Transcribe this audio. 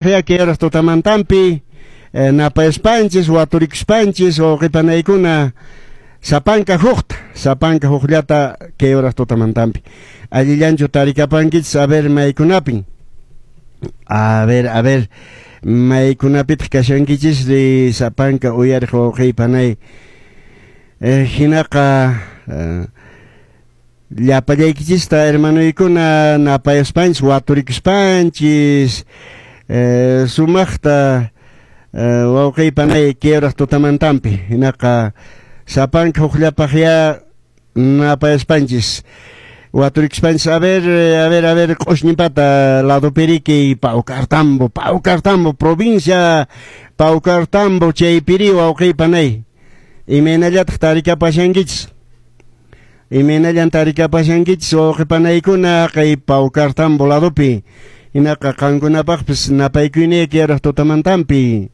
Kay horas tutamantampi napayaspanchis, waturikuspanchis, wawqipanaykuna sapanka hukta, sapanka hukllata kay horas tutamantampi. Allillanchu tarikapankichis, a ver maykunapin. A ver, a ver, maykunapitaq kashankichis ri sapanka uyariq wawqipanay. Hinaqa llapallaykichista hermanoykuna napayaspanchis, waturikuspanchis, sumaqta wawqiypanay kay horas tutamantampi. Hinaqa sapanka hukllapaqya napayaspanchis, waturikuspanchis. A ver, a ver, a ver, Q'ushñipata ladopiriki Paucartambo, Paucartambo, provincia Paucartambo, chaypiri wawqiypanay. Imaynallataq tarikapashankichis? Imaynallan tarikapashankichis wawqipanaykuna kay Paucartambo ladopi? Hinaqa qankunapaqpis napaykuyniyki yaraq tutamantampi.